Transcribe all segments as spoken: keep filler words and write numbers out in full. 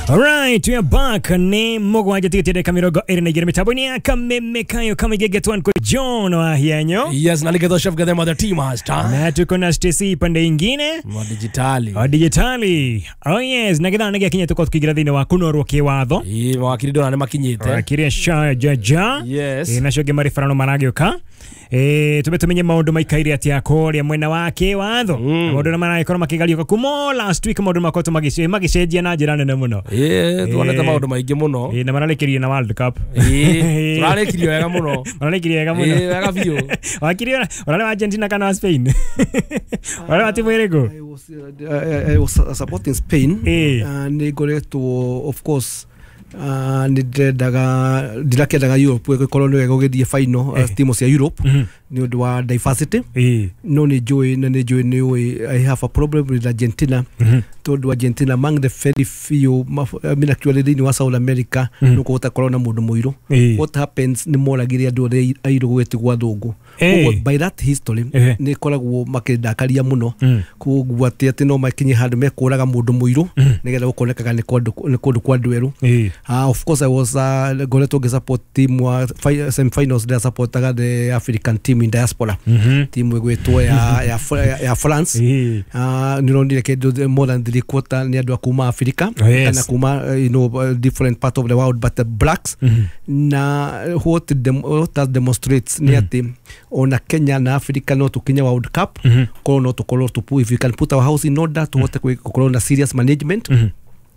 Alright, we are back. Ni mũgwanja tigĩtie ndagĩka mĩrongo ĩrĩ na igĩrĩ mĩtambo-inĩ ya Kameme Kayo Kamigege Twan kwa John Wahianyo. Yes, na Ligeto Chef Gadema the team master. Na tuko na Stacy pande ingine wa digitali. Wa digitali. Oh yes, na githaa nĩgĩakinya tũkorwo tũkĩingĩra thĩinĩ wa kũnorwo kĩwatho. Ĩĩ, mawakiri ndona nĩ makinyĩte. Wakiri Sha Jaja. Yes. Ĩ, nacio angĩ marĩ barano maragĩũka. Ĩ, tũbe tũmenye maũndũ maikaire atĩa kũrĩa mwena wa kĩwatho. Mm. Maũndũ na maragĩkorwo makĩgariũka kuma last week, maũndũ makoretwo magĩce- magĩcenjia na njĩra nene mũno. Ĩĩ, tuonete Ĩĩ. maũndũ maingĩ mũno. Ĩ, na mararĩkĩrie na World Cup. Ĩĩ, tũrarĩkirie wega mũno. Mararĩkirie wega mũno. Ĩĩ, wega biũ. Wakiri ũrarĩ wa Argentina kana wa Spain? Ũrarĩ wa timu ĩrĩkũ? I was, uh, I, I was supporting Spain. Eh. Uh, nĩ ngoretwo of course uh, nĩ ndĩrendaga ndirakĩendaga Europe ĩgĩkorwo nĩyo ĩgũgĩthiĩ final, uh, Eh. timu cia Europe Mhm. nĩ ũndũ wa diversity. Ĩĩ. No nĩ njũĩ na nĩ njũĩ nĩ ũĩ I have a problem with Argentina, Mhm. tondũ Argentina among the very few maf- I mean actually thĩinĩ wa South America Mhm. nĩ ũkũhota korwo na mũndũ mũirũ. Ĩĩ. What happens nĩ moragire andũ arĩa airũ gũgĩtigwo athũngũ. Eh. Koguo by that history Eh. nĩ ĩkoragwo makĩndakaria mũno. Mm. Koguo atĩ atĩ no makinye handũ mekũraga mũndũ mũirũ Mm. nĩgetha gũkonekaga nĩ kũndũ nĩ kũndũ kwa andũ erũ. Ĩĩ. Uh, of course I was uh, ngoretwo ngĩsupport team wa fi- semi-finals, ndĩrasupportaga the African team in diaspora, Mhm. timu ĩgwĩtwo ya, ya, ya, ya France. Ĩĩ. Uh, nĩ ũronire kĩndũ more than three quarter nĩ andũ a kuma Africa Oh, yes. kana kuma uh, you know, uh, different part of the world, but the blacks. Mhm. Na what, dem, what that demonstrates nĩ atĩ ona Kenya na Africa no tũkinye World Cup. Mhm. Korwo no tũkorwo tũpu if we can put our house in order, tũhote kwĩ- gũkorwo na serious management. Mhm.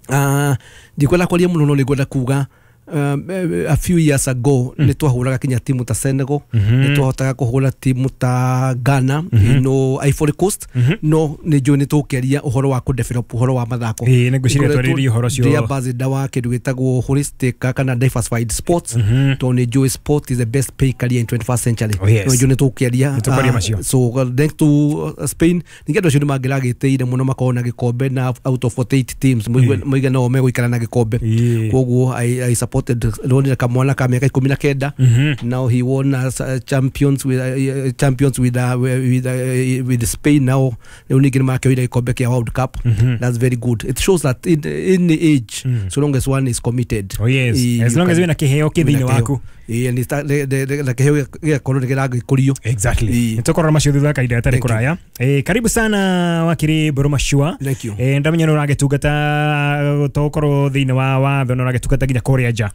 Uh, ndikwenda kwaria mũno, no nĩngwenda kuga um, a few years ago mm. nĩ twahũraga kinya timu ta Senegal, Mhm. nĩ twahotaga kũhũra timu ta Ghana, mm -hmm. you know, Ivory Coast. mm -hmm. No nĩ njũĩ nĩ tũkĩaria ũhoro wa kũdevelop ũhoro wa mathako. Ĩĩ, nĩ ngwĩciria twarĩrĩrie ũhoro ũcio. Ndĩ ambassador wa kĩndũ gĩtagwo holistic kana diversified sports, mm -hmm. tondũ nĩ njũĩ sport is the best pay career in twenty-first century. Oh, yes. No njũĩ nĩ tũkĩaria. Nĩ tũkwaria Ah, macio. So uh, thanks to uh, Spain, ningĩ andũ acio nĩ mangĩragĩtĩire mũno makorwo na gĩkombe, na out of forty-eight teams mũigana o megũikara na gĩkombe. Ĩĩ. Koguo I, I supported, ndonire kamwana ka mĩaka ikũmi na kenda. Mhm. Now he won as uh, champions with uh, champions with uh, with, uh, with Spain. Now rĩu ningĩ nĩmakĩoire gĩkombe kĩa World Cup. Mhm. That's very good. It shows that in in age, Mm. so long as one is committed. Oh yes. Eh, As you long as can- wĩna kĩheo kĩ thĩinĩ wĩna waku. Ĩĩ, and it's- the- the- the- na kĩheo gĩgakorwo nĩ kĩragĩkũrio. Exactly. Ĩĩ. Nĩ tũkũrora macio thutha wa kahinda gatarĩ Thank you. kũraya. Eh, karibu sana wakiri Mbũrũ Machua. Thank you. Eh, ndamenya nĩ ũragĩtungata tokorwo thĩinĩ wa watho na ũragĩtungata nginya kũrĩa nja.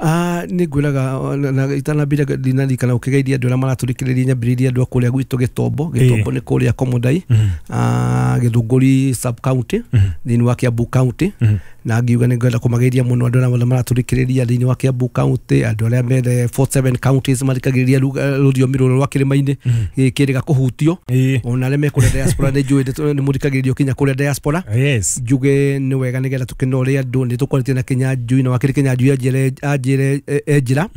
Ah, nĩ ngwĩraga na- na itanambire ndinarikana ũkĩgeithia andũ arĩa maratũrikĩrĩria, nyambĩrĩrie andũ a kũrĩa gwitũ Gĩtombo. Gĩtombo nĩ kũrĩa Komodai, ah, Gĩthũngũri sub county, thĩinĩ wa Kiambu County. Na ngiuga nĩ ngwenda kũmageithia mũno andũ arĩa maratũrikĩrĩria thĩinĩ wa Kiambu County, andũ arĩa methe forty-seven counties mathikagĩrĩria ruga- rũthiomi rũrũ rwa kĩrĩma-inĩ gĩkĩrĩga kũhutio. Ĩĩ. Ona arĩa me kũrĩa diaspora, nĩ njũĩ nĩ mũthikagĩrĩrio kinya kũrĩa diaspora. Yes. Njuge nĩ wega nĩgetha tũkĩnore andũ nĩ tũkoretio na Kĩnyanjui, na wakĩrĩ Kĩnyanjui anjĩre anjĩre e njĩra,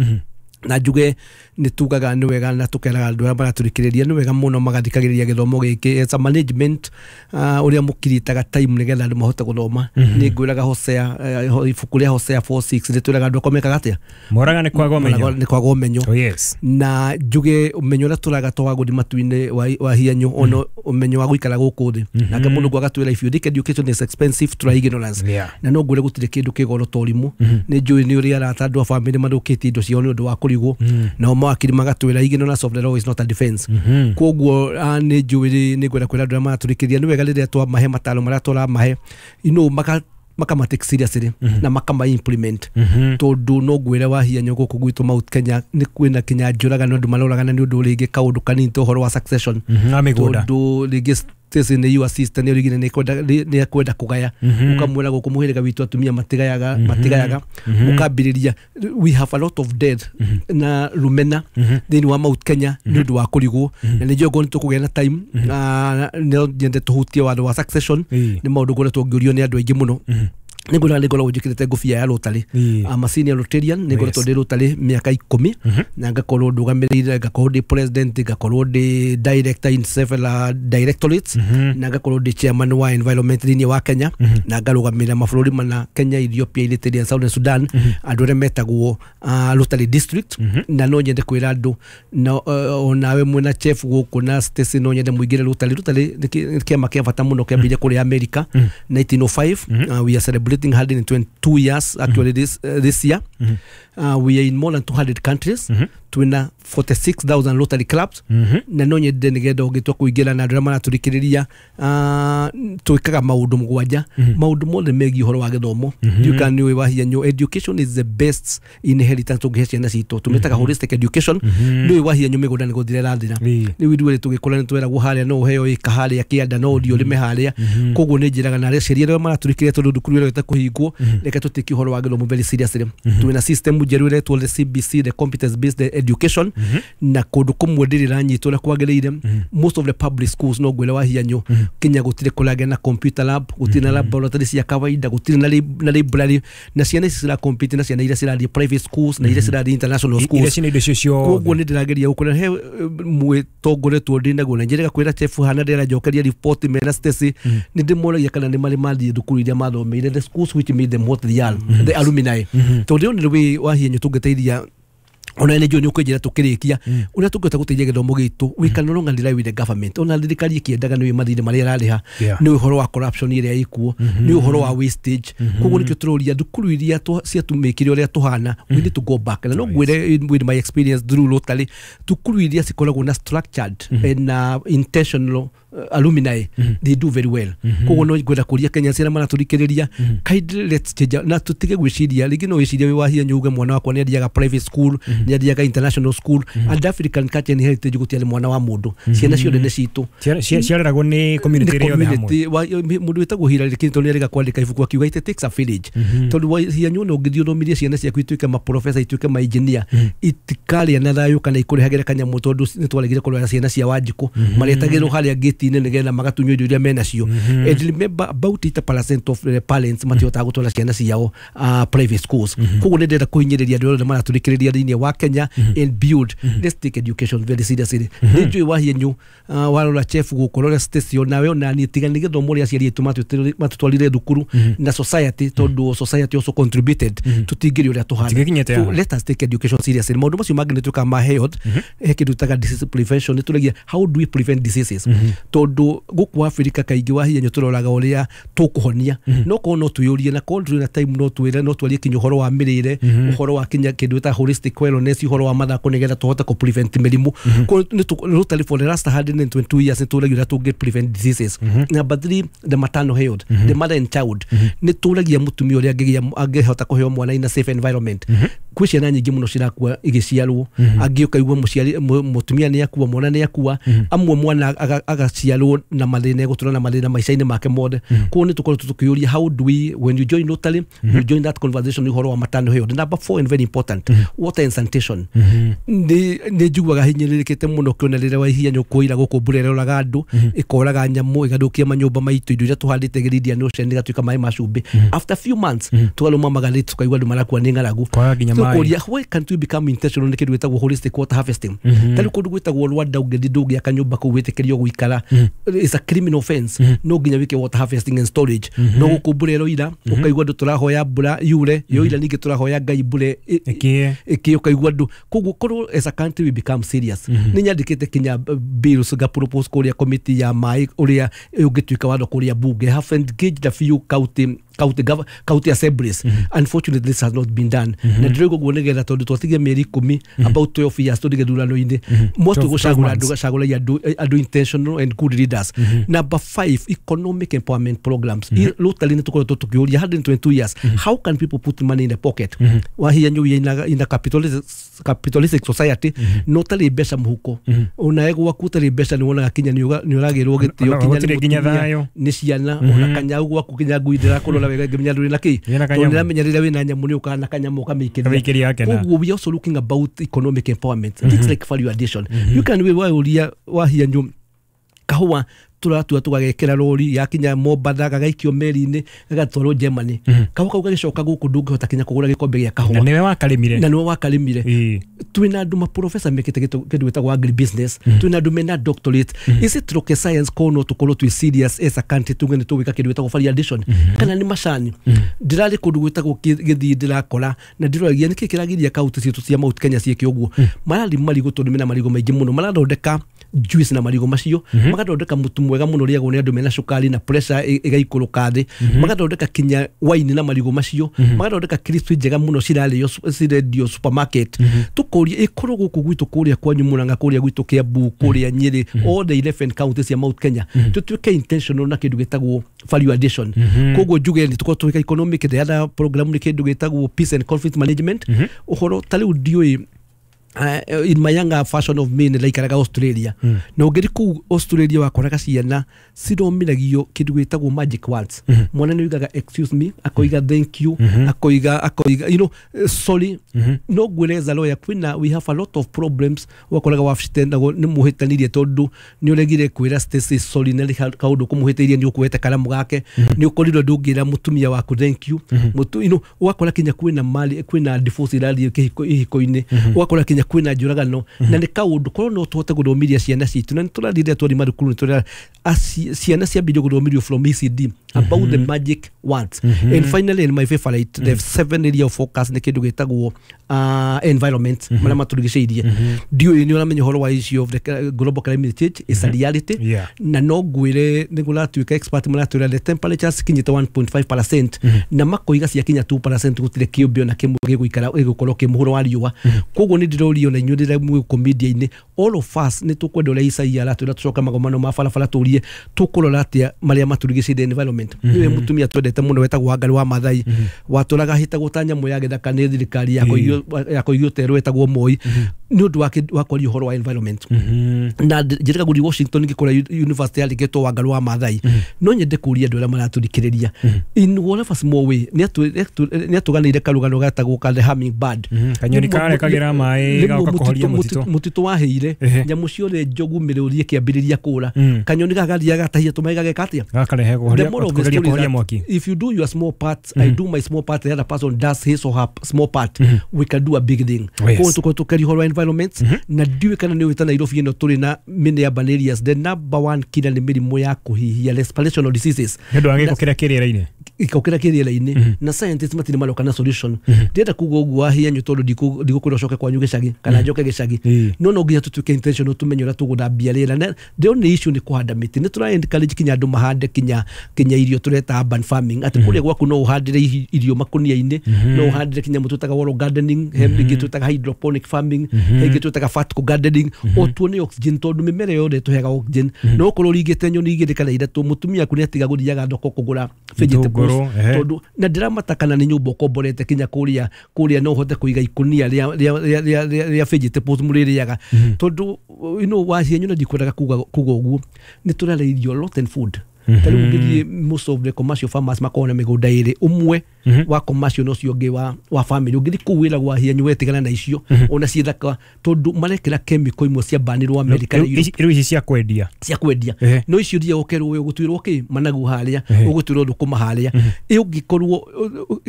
na njuge nĩ tugaga nĩ wega na tũkeraga andũ arĩa maratũrikĩrĩria nĩ wega mũno magathikagĩrĩria gĩthomo gĩkĩ. It's a management uh, ũrĩa mũkiritaga time nĩgetha andũ mahote gũthoma. Nĩ ngwĩraga Hosea, eh, ibuku rĩa Hosea four six nĩ twĩraga andũ akwa mekaga atĩa? Moraga nĩ kwaga ũmenyo. Nĩ kwaga ũmenyo. Oh yes. Na njuge ũmenyo ũrĩa tũraga to wa gũthiĩ matu-inĩ wa, wa hianyo, ona ũmenyo wa gũikara gũkũ thĩ. Nake mũndũ agatwĩra, "If you think education is expensive, try ignorance." Yeah. Na no ngwĩre gũtirĩ kĩndũ kĩ goro ta ũrimũ. Nĩ njũĩ nĩ ũrĩ arata andũ a bamĩrĩ mathũkĩtie indo ciao nĩ ũndũ wa kũrigwo, nao mawakiri magatwĩra ignorance of the law is not a defense. Koguo ah, nĩ njũĩ nĩ ngwenda kwĩra andũ arĩa maratũrĩkĩria nĩ wega rĩrĩa twamahe mataro marĩa tũramahe, you know, maka makama take seriously na makama implement, tondũ no ngwĩre wa hianyo gũkũ gwitũ Mount Kenya nĩ kwĩna kinya njũragano, andũ maroragana nĩ ũndũ rĩngĩ kaũndũ kanini ta ũhoro wa succession. Mhm, wa mĩgũnda. Tondũ rĩngĩ Stacy nĩ your sister, nĩ rĩngĩ nĩ kwenda nĩ ekwenda kũgaya, ũkamwĩra gũkũ mũhĩrĩga witũ atumia matigayaga matigayaga mũkambĩrĩria. We have a lot of death na rumena thĩinĩ wa Mount Kenya nĩ ũndũ wa kũrigwo, na nĩ njũĩ nĩ tũkũgĩa na time. Ah, no nyende tũhutie watho wa succession. Ĩĩ. Nĩ maũndũ ngoretwo ngĩũrio nĩ andũ aingĩ mũno. Nĩ ngwĩraga nĩ ngoragwo njĩkĩrĩte ngũbia ya Rotary. Ĩĩ. I'm a senior Rotarian, nĩ ngoretwo Yes. ndĩ Rotary mĩaka ikũmi, na ngakorwo ndũgamĩrĩire, ngakorwo ndĩ president, ngakorwo ndĩ director in several directorates, na ngakorwo ndĩ chairman wa environment thĩinĩ wa Kenya, na ngarũgamĩrĩra mabũrũri mana, Kenya, Ethiopia, Eritrea, Southern Sudan, andũ arĩa metagwo uh, Rotary district. Na no nyende kwĩra andũ na uh, onawe mwena chef gũkũ na Stacy, no nyende mũingĩre Rotary. Rotary nĩ kĩ- nĩ kĩama kĩa bata mũno kĩambĩrĩria kũrĩa America nineteen oh five. uh, we are celebrating completing one hundred twenty-two years actually this, uh, this year. Mm -hmm. uh, we are in more than two hundred countries. Mm -hmm. Twina forty-six thousand Rotary clubs. Mm -hmm. Na no nyende nigetha ũngĩtua kũingĩra na andũ arĩa maratũrikĩrĩria uh, twĩkaga maũndũ mũgwanja. Mm -hmm. Maũndũ mothe megiĩ ũhoro wa gĩthomo. Mm -hmm. You can wahianyo education is the best inheritance ũngĩhe ciana citũ. Tũmĩtaga mm -hmm. holistic education. Mm -hmm. Nĩũĩ wahianyo mĩgũnda nĩ gũthira ĩrathira. Rĩu ithuĩ tũgĩkũra nĩ tweragwo harĩa no ũheo ĩka harĩa kĩanda no ũthiĩ ũrĩme harĩa. Koguo nĩ njĩraga na arĩa aciari arĩa maratũrikĩrĩria tondũ thukuru ĩrĩa kũhingwo reke tũtĩke ũhoro wa gĩthomo very seriously. Twĩna system njerũ ĩretwo the C B C, the competence based education. Mm -hmm. Na kũndũ kũmwe ndĩrĩ ĩranyitwo ũrĩa kwagĩrĩire. Mm -hmm. Most of the public schools no ngwĩre wahianyo mm -hmm. Kenya gũtirĩ kũragĩa na computer lab, gũtirĩ na laboratory cia kawaida, gũtirĩ na na library, na ciana ici cira compete na ciana iria cirathiĩ private schools na iria cirathiĩ international schools. Koguo nĩ ndĩrageria gũkũra he mwĩtongoretwo ndĩ naguo na njĩrĩga kwĩra chef hana ndĩranjokeria report mena Stacy nĩ ndĩmoragia kana nĩ marĩ mathiĩ thukuru iria mathomeire, the schools which made them what they are, the alumni. Tondũ nĩ rĩ wahianyo tũngĩteithia ona nä njå nä å kå njä ra tå kä rä kia å rä a tå ngä hota gå teithia gä thomo gitå we can no longer rely with the government. Ona thirikari ĩkĩendaga nä mathirĩ marĩa ĩrarĩha, nä ũhoro wa corruption ĩrĩa ĩkuo, nä ũhoro wa wastage. Koguo nĩkĩo tũroria thukuru iria ciatũmĩkire ũrĩa tũhana, we need to go back. Na no ngwĩre with my experience through Rotary, thukuru iria cikoragwo na structured and uh, intentional uh, alumni, mm -hmm. they do very well. Koguo no ngwenda kũria Kenya ciana maratũrikĩrĩria, mm -hmm. kindly let's change na tũtige gwĩciria rĩngĩ no wĩcirie wĩ wahia nyuge mwana wakwa nĩ athiaga private school, mm -hmm. nĩ athiaga international school, mm -hmm. and African culture and heritage gũtiarĩ mwana wa mũndũ. Mm -hmm. Ciana ciothe nĩ citũ, ciareragwo nĩ community ĩrĩa yothe hamwe. Mũndũ wĩtagwo Hillary Clinton nĩ arĩga kwandĩka ibuku akiuga it takes a village. Mm -hmm. Tondũ wahia nyuo no ũngĩthiĩ ũthomithie ciana ciaku ituĩke maprofessor, ituĩke ma engineer, mm -hmm. itikarĩa na thayũ kana ikũrehagĩre kanyamũ tondũ nĩ twaregire kũrora ciana cia Wanjikũ. Mm -hmm. Maretagĩrwo harĩa gate-inĩ nĩgetha magatunywo indo iria menacio. Mm -hmm. And remember about eighty percent of the parents matihotaga gũtwara ciana ciao uh, private schools. Mm -hmm. Koguo nĩ ndĩrenda kũhinyĩrĩria andũ othe maratũrikĩrĩria thĩinĩ wa Kenya. Mm -hmm. And build. Mm -hmm. Let's take education very seriously. Mm -hmm. Nĩ njũĩ wahianyu uh, warora chef gũkũ rora station nawe ona niĩ tiga nĩ gĩthomo ũrĩa aciari aitũ matũtwarire thukuru. Mm -hmm. Na society tondũ society also contributed. Mm -hmm. Tũtingĩrĩ ũrĩa tũhana. So let us take education seriously. Maũndũ macio mangĩ nĩ twĩkaga ma health. Mm -hmm. He kĩndũ twĩtaga disease prevention, nĩ tũragia how do we prevent diseases. Mm -hmm. Tondũ gũkũ Afrika kaingĩ wahianyo tũroraga ũrĩa tũkũhonia. Mm -hmm. No korwo no twĩyũrie na korwo ndũrĩ na time no twĩre no twarie kinya ũhoro wa mĩrĩre, mm -hmm. ũhoro wa kinya kĩndũ ta holistic wellness, ũhoro wa mathako nĩgetha tũhote kũ prevent mĩrimũ. Mm -hmm. Rotary for the last one hundred and twenty-two years nĩ tũragia ũrĩa tũngĩ prevent diseases. Mm -hmm. Number three, the maternal health, mm -hmm. the mother and child. Mm -hmm. Nĩ tũragia mũtumia ũrĩa angĩgĩa angĩhota kũheo mwana in a safe environment. Mm -hmm. Kwĩ ciana nyingĩ mũno cirakua igĩciarwo, angĩ ũkaigua mũciari mũtumia nĩ akua, mwana nĩ akua, amwe mwana agaciarwo na mathĩna egũtũra na mathĩna maica-inĩ make mothe. Koguo nĩ tũkoretwo tũkĩũria how do we, when you join Rotary, you join that conversation ũhoro wa maternal health. Number four and very important, water and sanitation. Nĩ nĩ njiguaga hinyĩrĩrĩkĩte mũno kĩona rĩrĩa wahianyo kũira gũkũ mbura ĩroraga andũ, ĩkoraga nyamũ, ĩgathũkia manyũmba maitũ, indo iria tũhandĩte Indian Ocean ĩgatuĩka maĩ ma cumbĩ. After few months tũkarũma magarĩ tũkaigua andũ marakua nĩ ng'aragu. Kũria why can't we become intentional nĩ kĩndũ gĩtagwo holistic water harvesting. Ta rĩu kũndũ gwĩtagwo Rwanda ũngĩthiĩ ndũngĩaka nyũmba kũu wĩtĩkĩrio gũikara, it's a criminal offense. No nginya wĩke water harvesting and storage. No gũkũ mbura ĩroira ũkaigua andũ tũrahoya mbura yure, yoira ningĩ tũrahoya Ngai mbura ĩkĩe, ũkaigua andũ. Koguo korwo as a country we become serious. Nĩ nyandĩkĩte kinya bills nga propose kũrĩa committee ya maĩ ũrĩa ũngĩtuĩka watho kũrĩa bunge. Have engaged a few county county gov county assemblies. Mm -hmm. Unfortunately this has not been done. Mm -hmm. Na ndĩrauga ũguo nĩgetha tondũ twatigia mĩeri ikũmi, mm -hmm. about twelve years tũthiĩ gĩthurano-inĩ. Mm -hmm. Mwatũ gũcagũra andũ gacagũragia andũ andũ intentional and good leaders. Mm -hmm. Number five, economic empowerment programs. Mm -hmm. Rotary nĩ tũkoretwo tũkĩũria one hundred and twenty-two years. Mm -hmm. How can people put money in the pocket? Mm -hmm. Wahianyu in a, in a capitalistic, capitalistic society, mm -hmm. no tarĩ mbeca mũhuko. Mm -hmm. Ona gwaku ũtarĩ mbeca nĩ wonaga kinya nĩ ũragĩrwo gĩtĩo kinya nĩ ciana, mm -hmm. ona kanyau gwaku kinya ngui ndĩrakũrora wega ngĩmenya ndũrĩ na kĩ, tondũ ndĩramenya rĩrĩa wĩna nyamũ nĩ ũkaga na kanyamũ ũkamĩikĩria. Koguo we also looking about economic empowerment. Mm -hmm. Things like value addition. Mm -hmm. You can we waũria wahianyu kahũa tũratua tũgagekĩra rori yakinya Mombatha gagaikio meri-inĩ gagatwarwo Germany. Mm -hmm. Kahũa kau gagĩcoka gũkũ ndũngĩhota kinya kũgũra gĩkombe gĩa kahũa. Na nĩwe wakarĩmire. Na nĩwe wakarĩmire. Twĩna andũ maprofessor mekĩte kĩndũ gĩtagwo agribusiness. Mm -hmm. Twĩna andũ mena doctorate. Mm -hmm. Is it rocket science korwo no tũkorwo twĩ serious as a country tuge nĩ tũgwĩka kĩndũ gĩtagwo value addition? Mm -hmm. Kana nĩ macani. Mm -hmm. Ndĩrarĩ kũndũ gwĩtagwo Gĩthii ndĩrakora na ndĩroragia nĩkĩ kĩragiria kaunti citũ cia Mount Kenya ciĩke ũguo. Mm -hmm. Mararĩma marigũ tondũ mena marigũ maingĩ mũno, marathondeka juice na marigũ macio, mm -hmm. magathondeka mũtu mwega mwega mũno ũrĩagwo nĩ andũ mena cukari na pressure ĩ- ĩgaikũrũka thĩ. Magathondeka kinya waini na marigũ macio, magathondeka crisps njega mũno cirarĩo su- cirendio supermarket. Tũkũria ĩkorwo gũkũ gwitũ kũrĩa kwanyu Murang'a, kũrĩa gwitũ Kiambu, kũrĩa Nyĩrĩ, all the eleven counties cia Mount Kenya, tũtuĩke intentional na kĩndũ gĩtagwo value addition. Koguo njuge nĩ tũkorwo tũgĩka economic, the other program nĩ kĩndũ gĩtagwo peace and conflict management. Ũhoro ta rĩu ndiũĩ, uh, in my younger fashion of me nĩ ndaikaraga Australia, na ũngĩthi kũu Australia wakoraga ciana cithomithagio kĩndũ gĩtagwo magic words. Mwana nĩ oigaga "excuse me", akoiga "thank you", akoiga akoiga you know eh, "sorry". No ngwĩre lawyer kwĩna, we have a lot of problems. Wakoraga wabici nagwo nĩ mũhĩtanirie tondũ nĩ ũregire kwĩra Stacy sorry na nĩ kaũndũ kũmũhĩtĩirie, nĩ ũkuoete karamu gake, nĩ ũkorirwo ndũngĩra mũtumia waku thank you. Mũtu, you know, ũgakora kinya kwĩna mali, kwĩna divorce irathiĩ kĩhiko ihiko-inĩ, ũgakora kinya kwĩna njũragano, na nĩ kaũndũ korwo no tũhote gũthomithia ciana citũ. Na nĩ tũrathiĩ twari mathukuru, nĩ tũrera aci- ciana ciambĩrĩrio gũthomithio from E C D about the magic words. And finally, and my favorite, the seven area of focus nĩ kĩndũ gĩtagwo uh, environment, marĩa matũrigicĩirie. Ndiũĩ nĩ ũramenya ũhoro wa issue of the global climate change is a reality. Yeah. Na no ngwĩre nĩ kũratuĩka expert maratwĩra the temperatures kinyĩte one point five percent, na makoiga ciakinya two percent gũtirĩ kĩũmbe ona kĩmwe gĩgũikara gĩgũkorwo kĩ mũhuro wa riũa. Koguo nĩ ndĩrorio na inyuĩ rĩrĩa mwĩ gũkũ media-inĩ, all of us nĩ tũkwenda ũrĩa Isaia aratwĩra tũcoke magomano ma barabara, tũrie tũkũrora atĩa marĩa matũrigicĩirie, environment. Nĩwe mũtumia twendete mũno wetagwo Wangari wa Maathai, watũraga hĩtagwo ta nyamũ ya gĩthaka nĩ thirikari ya kũigio terũ wetagwo Moi nĩ ũndũ wa kĩ- wa kwaria ũhoro wa environment. Na njĩrĩga gũthiĩ Washington ngĩkora university yandĩkĩtwo Wangari wa Maathai. No nyende kũria andũ arĩa maratũthikĩrĩria, in whatever small way, nĩ atũganĩire karũgano gatagwo ka the hummingbird. Kanyoni karĩa kagĩra maĩ Rĩmwe gagoka kũhoria mũtitũ- mũtitũ. Mũtitũ wahĩire, Ehe. nyamũ ciothe njogu mĩrũri ĩkĩambĩrĩria kũra. Mm. Kanyoni gaka gathiaga gatahia tũmaĩ gageka atĩa? Gakarehe The kũhoria moral of the kũgeria story is kũhoria that mwaki. if you do your small part, I do my small part, the other person does his or her small part, we can do a big thing. Oh, yes. Koguo tũkorwo tũkĩaria ũhoro wa environment. Na ndiũĩ kana nĩ ũĩ ta Nairobi ĩno tũrĩ na many urban areas, the number one killer nĩ mĩrimũ ya kũhihia, respirational diseases. Nĩ ũndũ wa gĩko kĩrĩa kĩ rĩera-inĩ. Gĩko kĩrĩa kĩ rĩera-inĩ, na scientists matirĩ maroka na solution. Ndĩrenda kuga ũguo wahianyu tondũ ndikũ- ndigũkwĩra ũcoke kwanyu gĩcagi kana njoke gĩcagi. Ĩĩ. No no nginya tũtuĩke intentional, tũmenye ũrĩa tũgũthambia rĩera. Na the only issue nĩ kũhanda mĩtĩ. Nĩ tũra encourage kinya andũ mahande kinya kinya irio tũreta urban farming, atĩ kũrĩa gwaku no ũhandĩre ihi- irio makũnia-inĩ, no ũhandĩre kinya mũtĩ twĩtaga wall gardening, he ĩngĩ twĩtaga hydroponic farming, he ĩngĩ twĩtaga vertical gardening. O tuone oxygen tondũ mĩmera yothe ĩtũheaga oxygen. No ũkorwo ũringĩte nyoni igĩrĩ kana ithatũ, mũtumia aku nĩ atiga gũthiaga thoko kũgũra vegetables. Itũngũrũ, ehe. Tondũ na ndĩramata kana nĩ nyũmba ũkomborete kinya kũrĩa kũrĩa no ũhote kũiga ikũnia rĩa rĩa rĩa rĩa rĩa rĩa vegetables mũrĩrĩaga, tondũ you know wacienyu na ndikwendaga kuga kuga ũguo, nĩ tũrarĩa irio rotten food. Ta rĩu ũngĩthiĩ, most of the commercial farmers makoragwo na mĩgũnda ĩrĩ, ũmwe wa commercial na ũcio ũngĩ wa, wa family. Ũngĩthiĩ kũu wĩra gwa hianyu wetigana na icio ona ciĩ thaka tondũ marekĩra chemical imwe cia banirwo America na Rĩu Europe ici- rĩu ici cia kwendia. Cia kwendia. Ehe. No icio thiaga ũkerwo we ũgũtuĩrwo kĩ managu harĩa, Ehe. ũgũtuĩrwo thũkũma harĩa. Ĩ ũngĩkorwo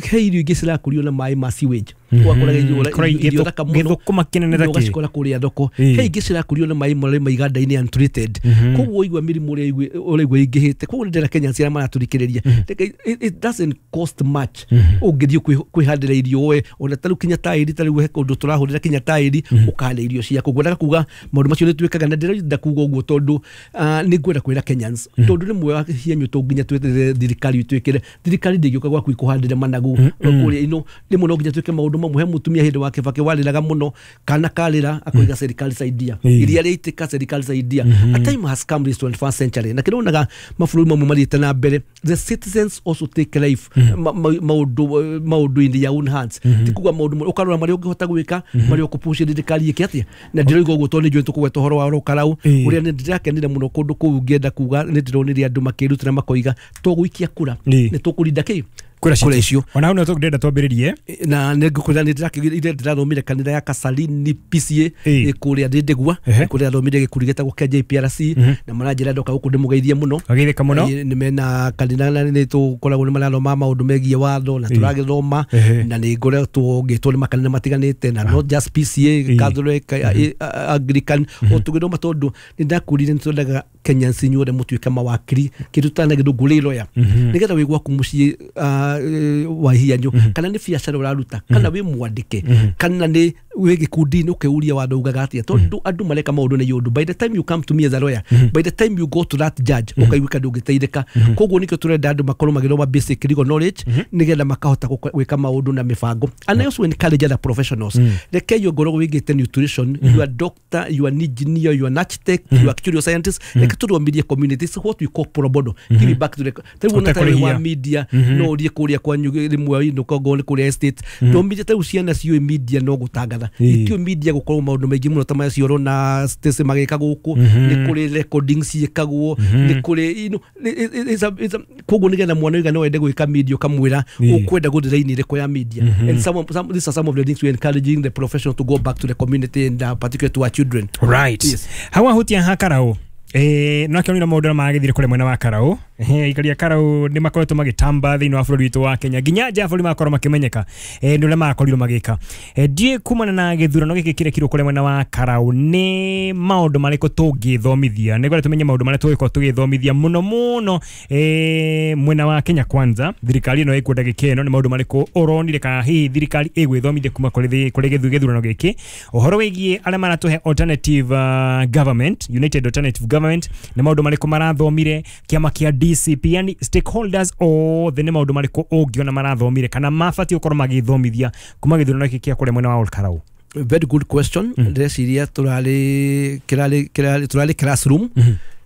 he irio ingĩ cirakũrio na maĩ ma sewage, ũgakoraga irio Kora irio gĩthũ- thaka mũno gĩthũkũma kĩnene ta na kĩ. ũgacikora kũrĩa thoko. Ĩĩ. He ingĩ cirakũrio na maĩ marĩa ma iganda-inĩ, untreated. Koguo ũigua mĩrimũ ũrĩa ĩigua- ũraigua ĩingĩhĩte. Koguo nĩ ndĩrenda Kenyans arĩa maratũthikĩrĩria, Reke- it, it doesn't cost much ũngĩthiĩ kwĩ- kwĩhandĩra irio we ona ta rĩu kinya taĩri, ta rĩu he kũndũ tũrahũrĩra kinya taĩri ũkahanda irio ciaku. Ngwendaga kuga maũndũ macio nĩ twĩkaga, na ndĩrenda kuga ũguo tondũ ah, nĩ ngwenda kwĩra Kenyans tondũ rĩmwe hianyu tũ nginya tweterere thirikari twĩkĩre. Thirikari ndĩngĩũka gwaku ikũhandĩre managu kũrĩa ino. Rĩmwe no nginya twĩke maũndũ mamwe. He mũtumia hĩndĩ wa Kibaki warĩraga mũno, kana karĩra akoiga "serikali saidia", Ĩĩ. iria rĩaitĩka, "serikali saidia". A time has come, this twenty-first century, na kĩronaga mabũrũri mamwe mathiĩte na mbere, the citizens also take life ma- ma- maũndũ maũndũ in their own hands. Ti kuga maũndũ mo- ũkarora marĩa ũngĩhota gwĩka, marĩa ũkũpush thirikari ĩke atĩa. Na ndĩroiga ũguo tondũ nĩ njũĩ tũkũgweta ũhoro wa Rũkarau, Ĩĩ. ũrĩa nĩ ndĩrakenire mũno kũndũ kũu. Ngĩenda kuga nĩ ndĩronire andũ makĩrutĩra makoiga tũgũikia kura, Ĩĩ. nĩ tũkũrinda kĩ kura kura icio. Ona hau no tũngĩenda twambĩrĩrie. Na nĩ ngũkwĩra nĩ ndĩrakĩgire ndĩrathomire kanitha ya Kasalini P C A, Ĩĩ. ĩ kũrĩa Ndĩndĩgua, Ehe. kũrĩa thomire gĩkundi gĩtagwo kĩa J P R C, na maranjĩra ndoka gũkũ ndĩmũgeithie mũno. Wageithĩka mũno. Ĩ, nĩ mena kanitha na nĩ tũkoragwo nĩ marathoma maũndũ megiĩ watho na Ĩĩ. tũragĩthoma. Ehe. Na nĩ ngoretwo ngĩtwo nĩ makanitha matiganĩte, na not just P C A, Ĩĩ. Catholic, eh, Anglican, o tũgĩthoma tondũ nĩ ndakũrire nĩ twendaga Kenyans inyuothe mũtuĩke mawakiri, kĩndũ tana gĩthũngũ lawyer, nĩgetha wĩ gwaku mũciĩ ah, eh, wa hianyu, kana nĩ biacara ũraruta, kana wĩ mwandĩke, kana nĩ Wĩ gĩkundi-inĩ ũkĩũria watho ugaga atĩa, tondũ andũ mareka maũndũ na yũndũ. By the time you come to me as a lawyer, by the time you go to that judge, ũkaiguĩka ndũngĩteithĩka. Koguo nĩkĩo tũrenda andũ makorwo magĩthoma basic legal knowledge, nĩgetha makahota gũka- gwĩka maũndũ na mĩbango. And I also encourage other professionals. Rekei ongorwo wĩgĩte nutrition, you are doctor, you are an engineer, you are an architect, you are actuarial scientist, reke tũthomithie communities what we call pro bono, give it back to the tarĩu ona tarĩu wa Ũtekũrĩhia. media, no ũthiĩ kũrĩa kwanyu rĩmwe inũka ongorwo nĩ kũrĩa estate, thomithie. Tarĩu ciana ciũĩ media no gũtangatha, Ĩĩ. itiũĩ media gũkorwo maũndũ maingĩ mũno ta maya cioro na Stacy magĩka gũkũ. Nĩ kũrĩ recordings ciĩkagwo, nĩ kũrĩ you know, it- it- it's a- it's a- koguo nĩgetha mwana oiga no ende gwĩka media, ũkamwĩra Ĩĩ. ũkwenda gũthiĩ raini ĩrĩkũ ya media. And some, of- some, these are some of the things we're encouraging the professional to go back to the community and uh, particularly to our children. Right. Yes. Hau ahutia ha Karau, eh no akĩonire maũndũ marĩa magĩthire kũrĩa mwena wa Karau. Eh, aikaria Karau nĩ makoretwo magĩtamba thĩinĩ wa bũrũri witũ wa Kenya, nginya nja ya bũrũri magakorwo makĩmenyeka eh, nĩ ũrĩa makorirwo magĩka. Eh, ndiĩ kumana na gĩthurano gĩkĩ kĩrekirwo kũrĩa mwena wa Karau, nĩ maũndũ marĩkũ tũngĩthomithia nĩguo tũmenye maũndũ marĩa tũgĩkorwo tũgĩthomithia mũno mũno eh, mwena wa Kenya Kwanza, thirikari ĩno ĩkuo ndagĩka ĩno, nĩ maũndũ marĩkũ ũronire kana hihi thirikari ĩgwĩthomithia kuma kũrĩ thĩ- kũrĩ gĩthu- gĩthurano gĩkĩ, ũhoro wĩgiĩ arĩa maratũhe alternative uh, government, united alternative government, nĩ maũndũ marĩkũ marathomire, kĩama kĩa D C P, yani stakeholders othe, nĩ maũndũ marĩkũ ũngĩona marathomire kana mabatiĩ gũkorwo magĩthomithia kuma gĩthurano gĩkĩ kĩa kũrĩa mwena wa Ol Kalou? Very good question. Ndĩreciria tũrarĩ kĩrarĩ kĩrarĩ tũrarĩ classroom,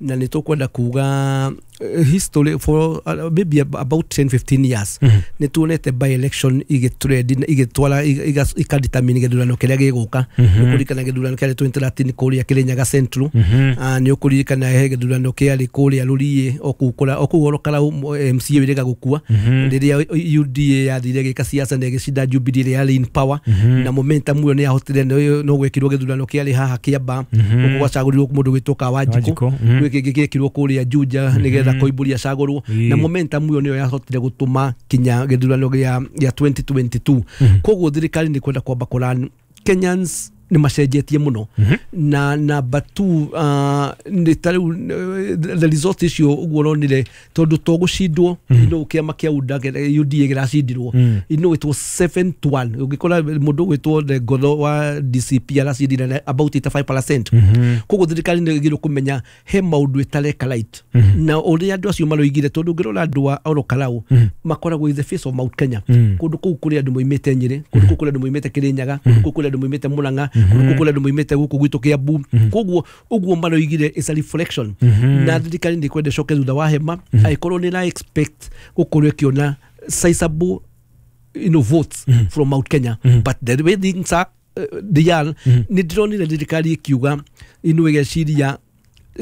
na nĩ tũkwenda kuga eh, history for uh, maybe ab- about ten fifteen years nĩ tuonete by election igĩtrend na igĩtwara iga- ikadetermine gĩthurano kĩrĩa gĩgũka. Nĩ ũkũririkana gĩthurano kĩarĩ twenty thirteen kũrĩa Kĩrĩnyaga Central. Ah, nĩ ũkũririkana he gĩthurano kĩarĩ kũrĩa Rũriĩ o kũu kũra- o kũu Ol Kalou, M C A wĩrĩga gũkua rĩrĩa U D A yathire gĩka siasa na ĩgĩcinda Jubilee ĩrĩa yarĩ in power, na momentum ĩyo nĩ yahotire no no gwĩkirwo gĩthurano kĩarĩ haha Kĩamba, gũkũ gwacagũrirwo mũndũ gwĩtwo Kawanjikũ. Wanjikũ, mhm. Gwĩ kĩngĩ gĩekirwo kũrĩa Juja nĩgetha Koimbũri acagũrwo, Ĩĩ. na momentum ĩyo nĩyo yahotire gũtũma kinya gĩthurano gĩa gĩa twenty twenty-two. Koguo thirikari nĩ kwenda kwamba kũran Kenyans nĩ macenjetie mũno. Na number two, uh, nĩ ta rĩu eh, the result icio ũguo ũronire, tondũ to gũcindwo ino kĩama kĩa U D A U D A kĩracindirwo, you know it was seven to one. Ũngĩkora mũndũ ũgwĩtwo the Ngotho wa D C P aracindire na about eighty-five percent. Koguo thirikari nĩ ĩgĩrĩirwo kũmenya he maũndũ ĩtareka right na ũrĩa andũ acio maroigire, tondũ ũngĩrora andũ a Ol Kalou makoragwo in the face of Mount Kenya. Kũndũ kũu kũrĩ andũ moimĩte Nyĩrĩ, kũndũ kũu kũrĩ andũ moimĩte Kĩrĩnyaga, kũndũ kũu kũrĩ andũ moimĩte Mũrang'a, kũndũ kũu kũrĩ andũ moimĩte gũkũ gwitũ Kĩambu. Koguo ũguo maroigire is a reflection, na thirikari nĩ kwenda ĩcoke thutha wa hema angĩkorwo nĩ ĩra expect gũkorwo ĩkĩona sizable you know, votes from Mount Kenya. But the way things are, uh, they are, nĩ ndĩronire thirikari ĩkiuga ino ĩgeciria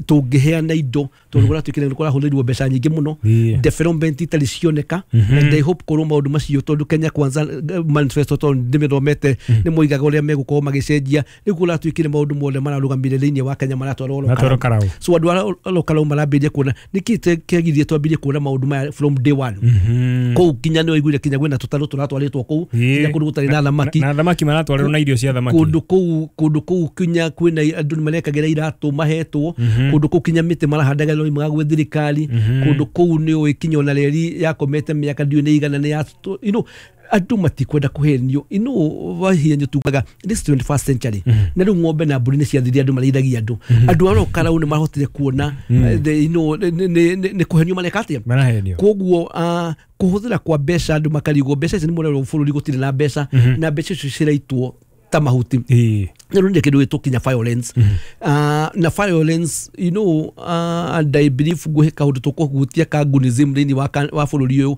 tũngĩheana indo, tondũ kũratuĩkire nĩ kũrahũthĩrwo mbeca nyingĩ mũno, Yeah. development itarĩ cioneka. And I hope korwo maũndũ macio, tondũ Kenya Kwanza eh, manifesto, tondũ ndĩmĩthomete, nĩ moigaga ũrĩa megũkorwo magĩcenjia. Rĩu kũratuĩkire maũndũ mothe mararũgamire thĩinĩ wa Kenya maratwarwo Ol Maratwarwo Kalou. Karau. So andũ a Ol Kalou marambĩrĩria kuona nĩkĩ kĩagirie twambĩrĩrie kuona maũndũ maya from day one. Kũu kinya nĩ waiguire kinya kwĩna tũtarũ tũratwarĩtwo kũu, Ĩĩ. kinya kũndũ gũtarĩ na thamaki. Na thamaki maratwarĩrwo na irio cia thamaki. Kũndũ kũu kũndũ kũu kinya kwĩna andũ nĩ marekagĩra iratũ mahetwo. Kũndũ kũu kinya mĩtĩ marahandaga no imaga gwĩ thirikari. Kũndũ kũu nĩ ũĩ kinya ona reri yakomete mĩaka ndiũĩ nĩ igana nĩ ya you know andũ matikwenda kũhenio. Ino wahienyo tugaga this twenty-first century, na rĩu ng'ombe na mbũri nĩ ciathirire, andũ marĩithagia. Andũ andũ a Ol Kalou nĩ mahotire kuona eh, the- you know, nĩ- nĩ nĩ- nĩ kũhenio mareka atĩa. Marahenio. Koguo uh, kũhũthĩra kwa mbeca, andũ makarigwo mbeca ici nĩ mũrerwo bũrũri gũtirĩ na mbeca, na mbeca icio ciraitwo ta mahuti. Ĩĩ. Nĩ rũnire kĩndũ gĩtwo kinya violence, uh, na violence, you know uh, and I believe ngũhe kaũndũ tũkũhutia ka gunism thĩinĩ wa, ka- wa bũrũri ũyũ.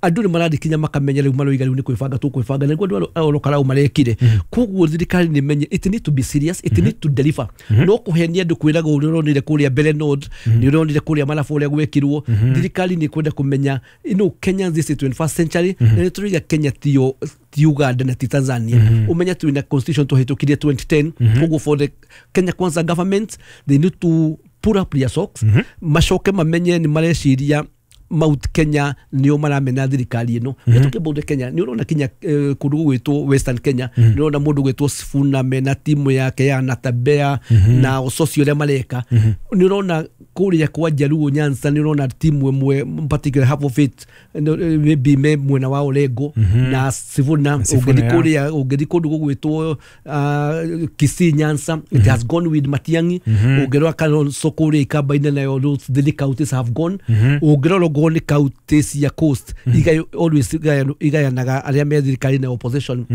Andũ nĩ marathiĩ kinya makamenya rĩu maroiga rĩu nĩ kwĩbanga tũkwĩbanga, nĩguo andũ a Ol Kalou marekire. Koguo thirikari nĩ menye it need to be serious, it need to deliver, no kũhenia andũ kwĩraga ũrĩa ũronire kũrĩa mbere North, nĩ ũronire kũrĩa Malaba ũrĩa gwekirwo. Thirikari nĩ kwenda kũmenya you know Kenya, this is twenty-first century, na nĩ tũraiga Kenya tiyo ti Uganda na ti Tanzania. Ũmenye twĩna constitution tũhĩtũkirie twenty ten. Koguo for the Kenya Kwanza government, they need to pull up their socks, macoke mamenye nĩ mareciria Mount Kenya nĩo maramena thirikari ĩno. We talking about the Kenya, nĩ ũrona kinya eh, kũndũ gũgwĩtwo Western Kenya, nĩ ũrona mũndũ gwĩtwo Sifuna mena timu yake ya Natabea na Ososi ũrĩa mareka, nĩ ũrona Kũrĩa kwa Jaluo Nyanza nĩ ũrona timu ĩmwe particular half of it no, eh, maybe me mwena wa Orengo na Sifuna. Sifuna, Ũngĩthiĩ yeah. kũrĩa ũngĩthiĩ kũndũ gũgwĩtwo uh, Kisii Nyanza, it has gone with Matiang'i. Ũngĩrora Kalonzo kũrĩa Ikamba-inĩ nayo those three counties have gone. Ũngĩrora okorwo nĩ county cia coast iga- always igayanu- igayanaga arĩa me thirikari na opposition.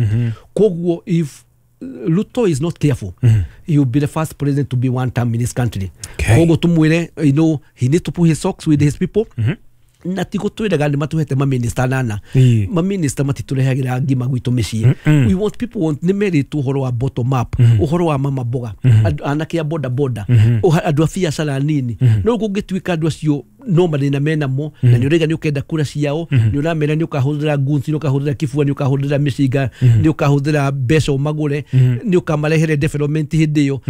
Koguo if Ruto is not careful, he will be the first president to be one term in this country. Okay. Koguo tumwire, you know, he needs to put his socks with his people. Na ti gũtwĩraga nĩ matũhete maminista nana. Ĩĩ. Maminista matitũrehagĩra ngima gwitũ mĩciĩ. We want people want nĩ merĩtwo ũhoro wa bottom up, ũhoro wa mama mboga, andũ- anake a boda boda, ũha- andũ a biacara nini. No kũngĩtuĩka andũ acio no mathĩna menamo na nĩ ũraiga nĩ ũkenda kura ciao, nĩ ũramera nĩ ũkahũthĩra guns, nĩ ũkahũthĩra kibua, nĩ ũkahũthĩra mĩcinga, nĩ ũkahũthĩra mbeca ũmagũre, nĩ ũkamarehere development hĩndĩ ĩyo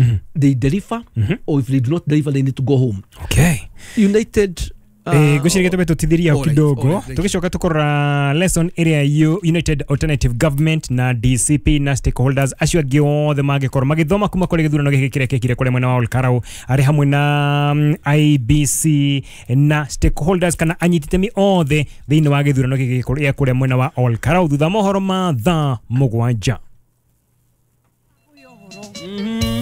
they deliver, or if they do not deliver, they need to go home. Okay. United Eh, ngwĩciria gĩtũme tũtithirie hau alright, kidogo. Alright, thank you. Tũgĩcoka tũkũrora lesson ĩrĩa U- United Alternative Government na D C P na stakeholders acio angĩ othe mangĩkorwo magĩthoma kuma kũrĩ gĩthurano gĩkĩ kĩrĩa kĩekire kũrĩa mwena wa Olkarau arĩ hamwe na mm, I E B C na stakeholders kana anyiti itemi othe thĩinĩ wa gĩthurano gĩkĩ gĩa kũrĩa mwena wa Olkarau thutha wa mohoro ma thaa mũgwanja.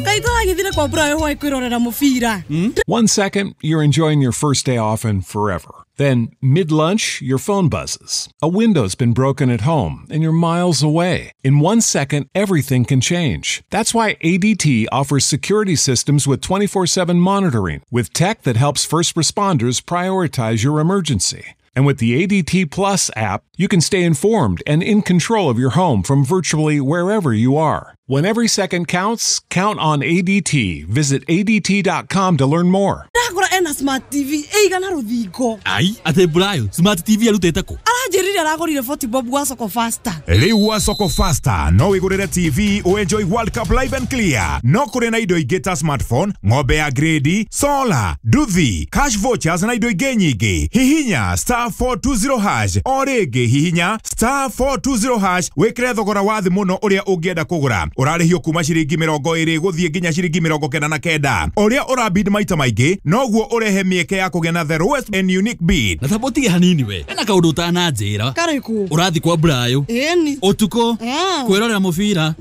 Kaĩ tũragĩthire kwa Brayo hwaĩ kwĩrorera mũbira. One second, you're enjoying your first day off and forever. Then, mid lunch, your phone buzzes. A window's been broken at home and you're miles away. In one second, everything can change. That's why A D T offers security systems with twenty-four seven monitoring, with tech that helps first responders prioritize your emergency. And with the A D T Plus app, you can stay informed and in control of your home from virtually wherever you are. When every second counts, count on A D T. Visit A D T dot com to learn more. Ndagũra ena smart T V ĩigana rũthingo. Ai, atĩ Brayo smart T V arutĩte kũ? Aranjĩrire aragũrire forty bob gwa Soko Faster. Rĩu wa Soko Faster no wĩgũrĩre T V ũenjoy World Cup live and clear. No kũrĩ na indo ingĩ ta smartphone, ng'ombe ya grade, solar, nduthi, cash vouchers na indo ingĩ nyingĩ. Hihinya star four two zero hash o rĩngĩ, hihinya star four two zero hash wĩkĩre thogora wa thĩ mũno ũrĩa ũngĩenda kũgũra. Ũrarĩhio kuma ciringi mĩrongo ĩrĩ gũthiĩ nginya ciringi mĩrongo kenda na kenda. Ũrĩa ũrabid maita maingĩ noguo ũrehe mĩeke ya kũgĩa na the lowest and unique bid. Na tamba ũtige hanini, we ena kaũndũ ũtananjĩra. Karĩkũ? Ũrathiĩ kwa Brayo Ĩni. Ũtukũ Ah. kwĩrorera mũbira?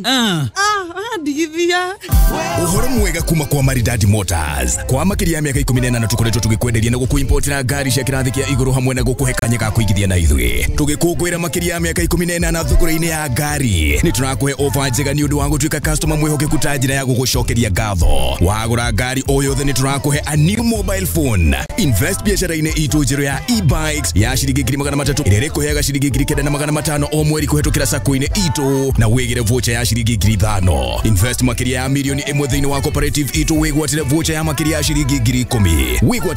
Ah. Ah, ndigithia. Uhoro mwega kuma kwa Maridadi Motors. Kwa makiria ya miaka ikumi na ĩnana tukoretwo tũgĩkwenderia na gũkũimportera ngari cia kĩrathi kĩa igũrũ hamwe na gũkũhe kanya ga kũigithia na ithuĩ. Tũgĩkũngũĩra makĩria ya mĩaka ikũmi na ĩnana thũgũrĩ-inĩ ya ngari, nĩ tũrakũhe ofa njega nĩ ũndũ wa gũtuĩka customer mwĩhokeku ta njĩra ya gũgũcokeria ngatho. Wagũra ngari o yothe nĩ tũrakũhe a new mobile phone. Invest biacara-inĩ itũ njerũ ya e-bikes ya ciringi ngiri magana matatũ ĩrĩa ĩrĩkũheaga ciringi ngiri kenda na magana matano o mweri kũhetũkĩra sacco-inĩ itũ na wĩgĩre voucher ya ciringi ngiri ithano. Invest makĩria ya mirioni ĩmwe thĩinĩ wa cooperative itũ wĩgwatĩre voucher ya makĩria ya ciringi ngiri ikũmi. Wĩgwatĩre